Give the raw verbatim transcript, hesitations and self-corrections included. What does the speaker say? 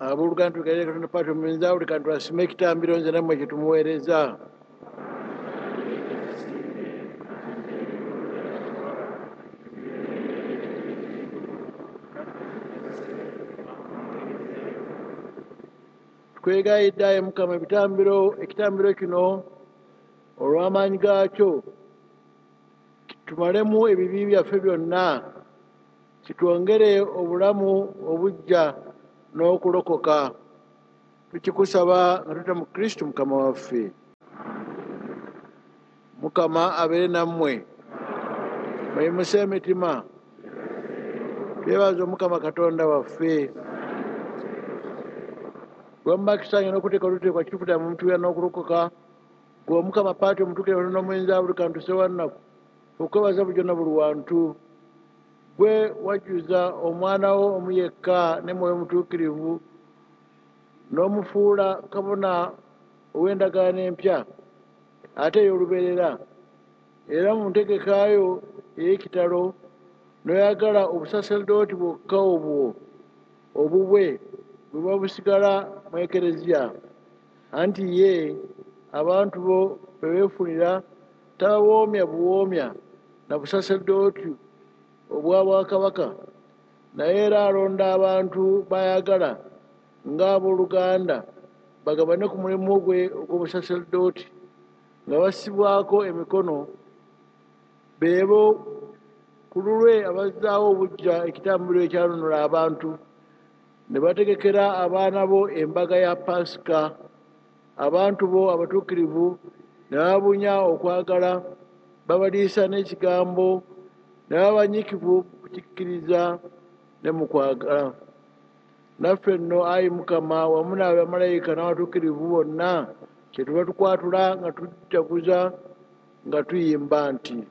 Abooluganda, tugalire Katonda Patri Omuyinza buli kantu asime ekitambiro nze nammwe kye tumuweereza. Twegayidde ayi Mukama ebitambiro ekitambiro kino olw'amaanyi gaakyo tumalemu ebibi byaffe byonna, kitwongere obulamu obuggya n'okulokoka. Tukikusaba nga tuyita mu Kristo Mukama waffe. Mukama abeere nammwe. Muyimuse emitima. Twebaze Omukama Katonda waffe. Gwe mubakisanye n'okuteeka oluteekwa kitufuta mu mutuya n'okulokoka. Gwe Omukama Patri Omutuukirivu n'Omuyinza buli kantu Ssewannaku, okwebaza bulijjo na buli wantu. Gwe wajjuza omwana wo omu yekka ne Mwoyo Mutuukirivu n'omufuula kabona ow'endagaano empya ate ey'olubeerera, era mu ntegekayo ey'ekitalo n'oyagala obusaserdooti bwokka obwo obubwe bwe buba busigala mu Ekereziya, anti ye abantu bo bwe beefunira tabawoomya buwoomya na busaserdooti obwa bwakabaka, naye era alonda abantu b'ayagala ng'abooluganda bagabane ku mulimu gwe ogw'obusaserdooti nga bassibwako emikono, beebo ku lulwe abazzaawo obuggya ekitambiro ekyanunula abantu, ne bategekera abaana bo embaga ya Paasika, abantu bo abatuukirivu ne bababunya okwagala, babaliisa n'ekigambo, ne baba banyiikivu mu kukikkiriza ne mu kwagala. Naffe nno ayi Mukama wamu n'abamalayika n'abatuukirivu bonna kye tuba tukwatula nga tujaguza nga tuyimba nti.